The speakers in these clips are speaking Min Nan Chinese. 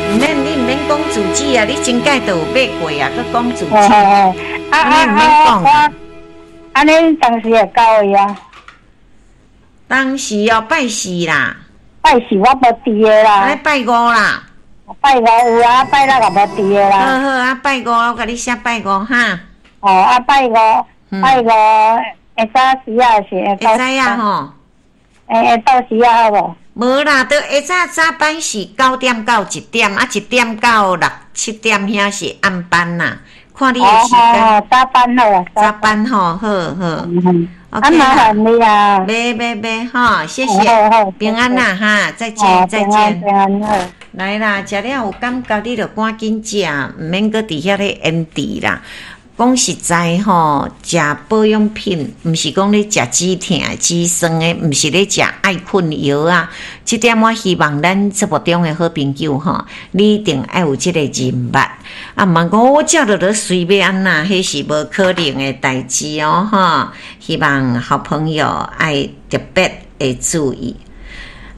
毋免，你毋免講住址啊，你前擺都有買過啊，閣講住址。啊啊你毋免講啊！按呢當時會到位啊？當時哦，拜四啦。拜四我無佇的啦。拜五啦。拜五有啊，拜六也無佇的啦。好好啊，拜五我共你寫拜五哈。哦，啊拜五，拜五下早時啊是會會知啊吼。會到時啊好無？無啦，都下早早班是9點到1點，啊1點到6、7點遐是暗班啦。看你的時間。哦，早班好啊。早班吼，好好。啊，麻煩你啊。袂袂袂，吼，謝謝，平安啦哈，再見再見。平安好。來啦，食了有感覺，你就趕緊食，毋免閣佇遐咧延遲啦。講實在吼，食保養品，毋是講咧食止疼、止酸的，毋是咧食愛睏藥啊。這點我希望咱節目中的好朋友吼，你一定愛有這个認捌。啊，毋通講我食落就隨欲按怎，彼是無可能的代誌哦，吼。希望好朋友愛特別會注意。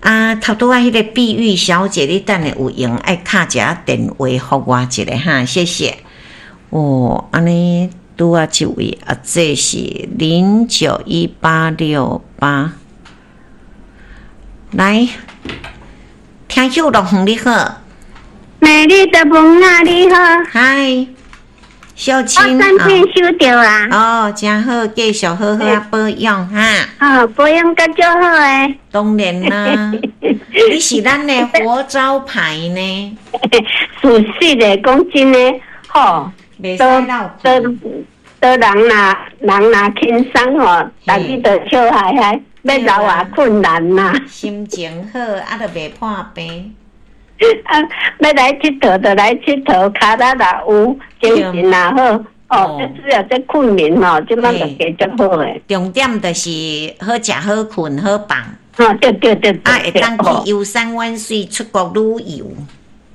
啊，頭拄仔彼个碧玉小姐，你等下有閒愛敲一下電話予我一下哈，謝謝。哦，按呢拄仔這位啊，這是091868，來，聽友樂園你好，美麗的夢啊，你好，嗨，小青，我產品收著啊，哦，真好，繼續好好啊保養哈，哦，保養甲足好的，當然啦，你是咱的活招牌呢，事實的，講真的，吼。都都都人若人若輕鬆吼，逐日都笑嗨嗨，欲留也困難啦。心情好，啊，就袂破病。啊，欲來𨑨迌就來𨑨迌，跤力若有，精神若好，哦，這主要這困眠吼，這擺就加足好的。重點就是好食好睏好放。哦，對對對。啊，會當去遊山玩水，出國旅遊。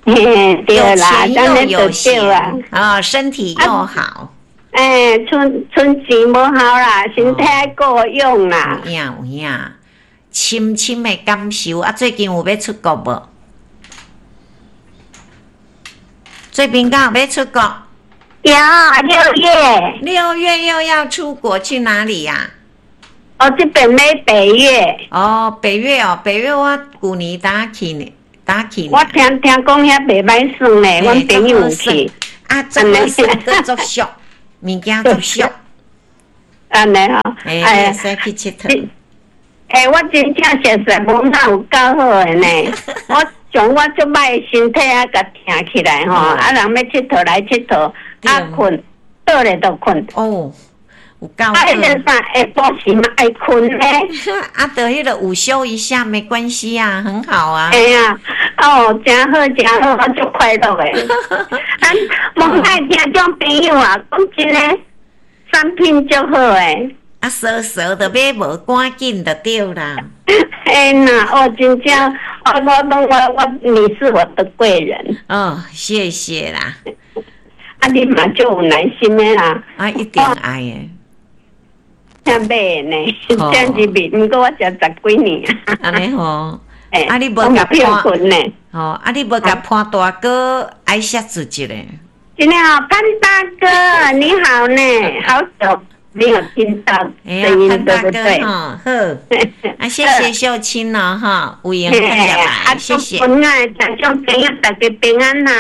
嘿，對啦，有錢又有閒啊，身體又好。欸，存存錢無效啦，身體愛顧養啦。有影有影，深深的感受啊！最近有欲出國無？最近敢有欲出國？有，六月。6月又要出國去哪裡呀？哦，這邊欲北越。哦，北越哦，北越我舊年才去呢。我聽聽講遐袂歹耍呢，阮朋友有去。啊，足好耍，閣足俗，物件足俗。按呢吼，欸，會使去𨑨迌。欸，我真正熟似無哪有夠好的呢。我像我足歹的身體啊，共疼起來吼，啊，人欲𨑨迌來𨑨迌，啊，睏倒咧就睏。哦。有夠啊，彼個啥下晡時嘛愛睏咧。啊，就彼個午休一下沒關係啊，很好啊。哎呀，哦，真好真好，我足快樂的。啊，無愛聽眾朋友啊，講真的，產品足好的。啊，傻傻的買無，趕緊就對啦。哎呐，我真正，我我我我，你是我的貴人。哦，謝謝啦。啊，你嘛足有耐心的啦。啊，一定愛的。聽買的呢，聽入面，毋過我食十幾年。按呢吼，啊你無共潘呢？吼，啊你無共潘大哥愛寫字一下。真的哦，潘大哥你好呢，好久沒有聽到聲音，對不對？好，啊，謝謝秀清哦，哈，有閒再來，謝謝。平安，聽眾朋友大家平安呐，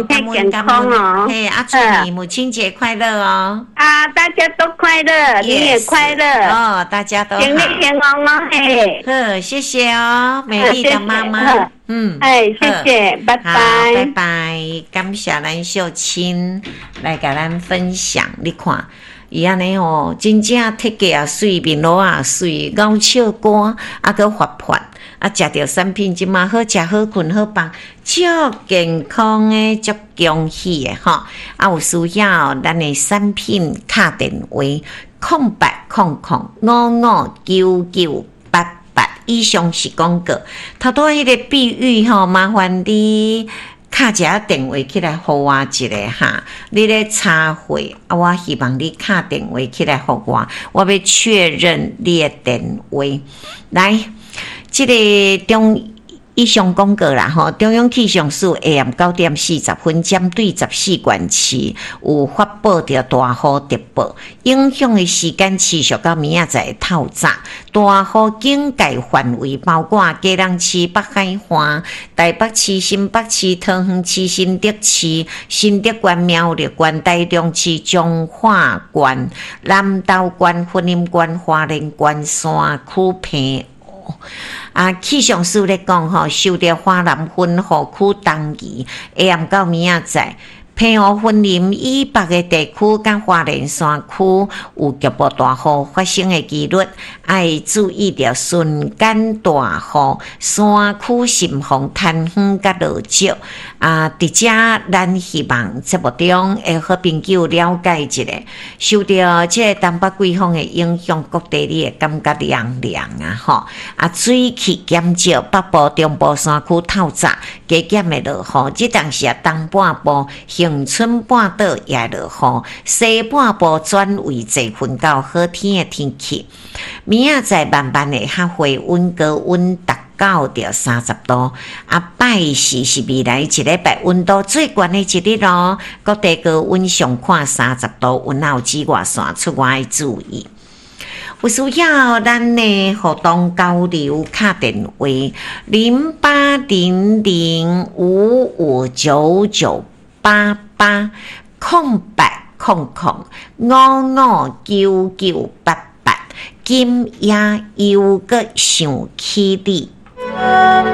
身體健康哦。嘿，啊，祝你母親節快樂哦。啊，大家都快樂，你也快樂。哦，大家都好。健健康康哦，嘿。好，謝謝哦，美麗的媽媽。嗯，哎，謝謝，拜拜，拜拜，感謝咱秀清來共咱分享，你看。伊按呢吼，真正體格也媠，面鱸也媠，咬笑歌，啊，閣活潑，啊，食著產品這馬好食好睏好放，足健康的，足恭喜的吼。啊，有需要咱的產品敲電話：0800559988。以上是廣告。頭拄仔彼個比喻吼，麻煩你敲一下電話起來予我一下哈，你咧插會啊，我希望你敲電話起來予我，我欲確認你的電話。來，這个中以上講過啦吼，中央氣象署下暗9點40分，針對14縣市有發布著大雨特報，影響的時間持續到明仔載透早。大雨警戒範圍包括基隆市北海岸、台北市、新北市、桃園市、新竹市、新竹縣、苗栗縣、台中市、彰化縣、南投縣、雲林縣、花蓮縣、山區澎湖。啊，氣象署咧講吼，受著華南雲雨區東移，下暗到明仔載，澎湖、雲林以北的地區佮花蓮山區有局部大雨發生的機率，愛注意著瞬間大雨、山區滲風、颱風佮落石。啊，佇遮咱希望節目中的好朋友了解一下，受著這个東北季風的影響，各地你會感覺涼涼啊吼。啊，水汽減少，北部、中部山區透早加減會落雨，這當時啊，東半部、恆春半島也會落雨，西半部轉為濟雲到好天的天氣。明仔載慢慢會較回溫，高溫達到著30度。啊，拜四是未來一禮拜溫度最懸的一日咯，各地高溫上看30度，溫有紫外線出外注意。有需要咱的互動交流，敲電話08005599880800559988，今夜猶閣想起你。